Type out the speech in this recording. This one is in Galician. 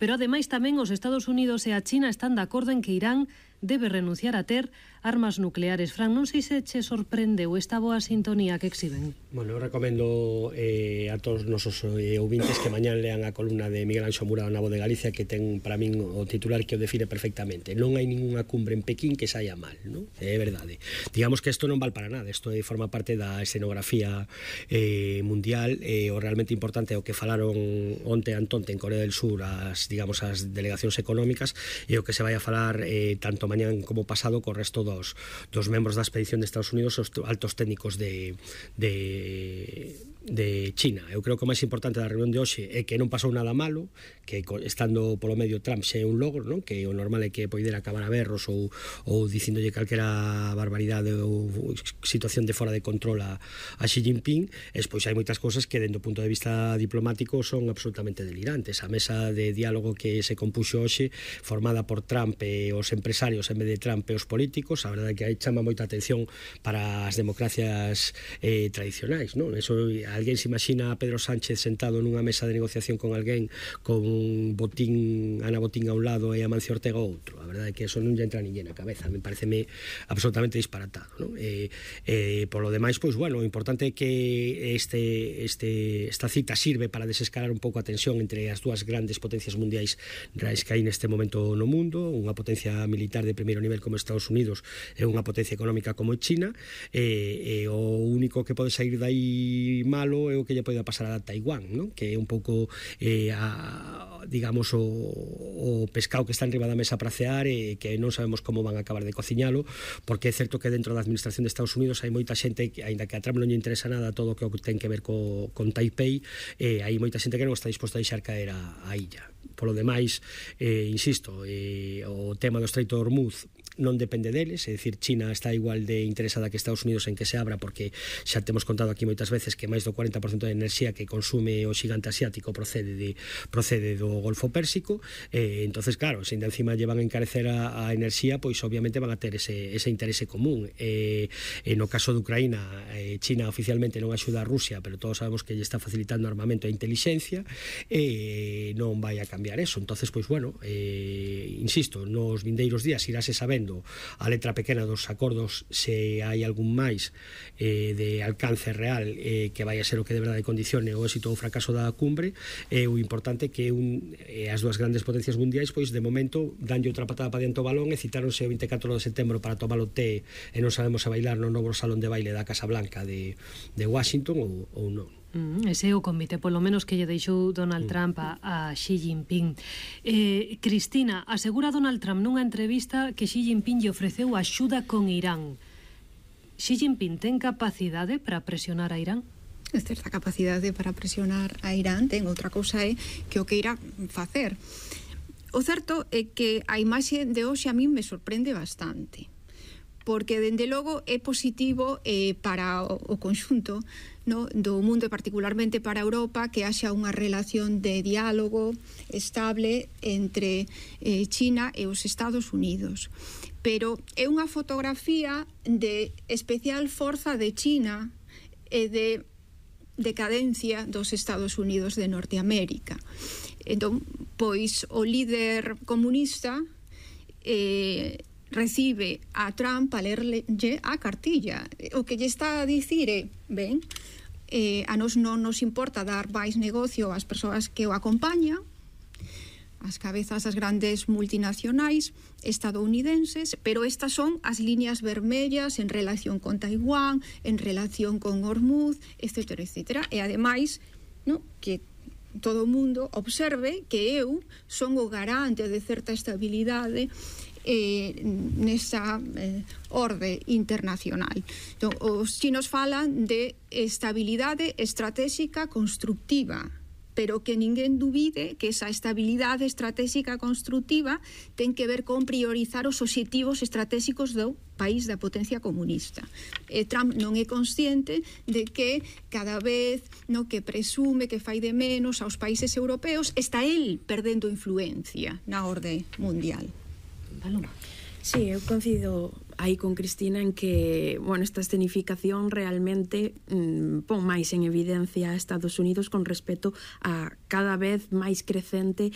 Pero ademais tamén os Estados Unidos e a China están de acordo en que Irán debe renunciar a ter armas nucleares. Fran, non sei se che sorprendeu esta boa sintonía que exhiben. Bueno, eu recomendo a todos os nosos ouvintes que mañán lean a columna de Miguel Anxo Murado na Voz de Galicia, que ten para min o titular que o define perfectamente. Non hai ninguna cumbre en Pekín que saia mal, non? É verdade. Digamos que isto non vale para nada, isto forma parte da escenografía mundial. O realmente importante é o que falaron onte Antonte en Corea del Sur as delegacións económicas, e o que se vai a falar tanto mañán como pasado co resto dos membros da expedición de Estados Unidos, os altos técnicos de China. Eu creo que o máis importante da reunión de hoxe é que non pasou nada malo, que estando polo medio Trump xe é un logro, non? Que o normal é que poidera acabar a berros ou dicindolle calquera barbaridade ou situación de fora de control a Xi Jinping. Despois hai moitas cosas que dentro do punto de vista diplomático son absolutamente delirantes. A mesa de diálogo que se compuxo hoxe, formada por Trump e os empresarios en vez de Trump e os políticos, a verdade é que aí chama moita atención para as democracias tradicionais, non? Eso, alguén se imagina a Pedro Sánchez sentado nunha mesa de negociación con alguén con Ana Botín a un lado e Amancio Ortega ao outro. A verdade é que eso non lle entra a ninguén na cabeza, me pareceme absolutamente disparatado, non? Polo demais, pois, bueno, o importante é que esta cita sirve para desescalar un pouco a tensión entre as dúas grandes potencias mundiais reais que hai neste momento no mundo, unha potencia militar de primeiro nivel como Estados Unidos e unha potencia económica como China, e o único que pode sair dai malo é o que lle pode pasar a Taiwán, non? Que é un pouco digamos o pescado que está enriba da mesa para cear, e que non sabemos como van a acabar de cociñalo, porque é certo que dentro da administración de Estados Unidos hai moita xente que, aínda que a Trump non lle interesa nada todo o que ten que ver con Taipei, hai moita xente que non está disposta a deixar caer a illa. Polo demais, insisto, o tema do Estreito de Hormuz non depende deles, é dicir, China está igual de interesada que Estados Unidos en que se abra, porque xa temos contado aquí moitas veces que máis do 40% da enerxía que consume o xigante asiático procede do Golfo Pérsico. Entonces, claro, se ainda encima llevan a encarecer a enerxía, pois obviamente van a ter ese interese común. No caso de Ucraína, China oficialmente non axuda a Rusia, pero todos sabemos que lle está facilitando armamento e inteligencia, e non vai a cambiar eso. Entonces, pois, bueno, insisto, nos vindeiros días irase sabendo a letra pequena dos acordos se hai algún máis de alcance real que vai a ser o que de verdade condicione o éxito ou fracaso da cumbre. O importante é que as dúas grandes potencias mundiais, pois, de momento danlle outra patada para diante o balón e citáronse o 24 de setembro para tomar o té e non sabemos se bailar no novo salón de baile da Casa Blanca de Washington ou non. Ese é o convite, polo menos que lle deixou Donald Trump a Xi Jinping. Cristina, asegura Donald Trump nunha entrevista que Xi Jinping lle ofreceu axuda con Irán. Xi Jinping ten capacidade para presionar a Irán? É certa capacidade para presionar a Irán, ten outra cousa é que o que irá facer. O certo é que a imaxe de hoxe a min me sorprende bastante, porque dende logo é positivo para o conxunto, no, do mundo e particularmente para Europa, que haxa unha relación de diálogo estable entre China e os Estados Unidos. Pero é unha fotografía de especial forza de China e de decadencia dos Estados Unidos de Norteamérica. Entón, pois o líder comunista recibe a Trump a lerlle a cartilla. O que lle está a dicir é, ben, a nos non nos importa dar máis negocio ás persoas que o acompañan, as cabezas das grandes multinacionais estadounidenses, pero estas son as líneas vermellas en relación con Taiwán, en relación con Hormuz, etcétera, etcétera. E ademais, no, que todo o mundo observe que eu son o garante de certa estabilidade nesa orde internacional. Entón, os chinos falan de estabilidade estratégica constructiva, pero que ninguén dubide que esa estabilidade estratégica constructiva ten que ver con priorizar os obxectivos estratégicos do país da potencia comunista. Trump non é consciente de que cada vez no que presume que fai de menos aos países europeos, está el perdendo influencia na orde mundial. Paloma. Sí, eu coincido aí con Cristina en que, bueno, esta escenificación realmente pon máis en evidencia a Estados Unidos con respecto a cada vez máis crecente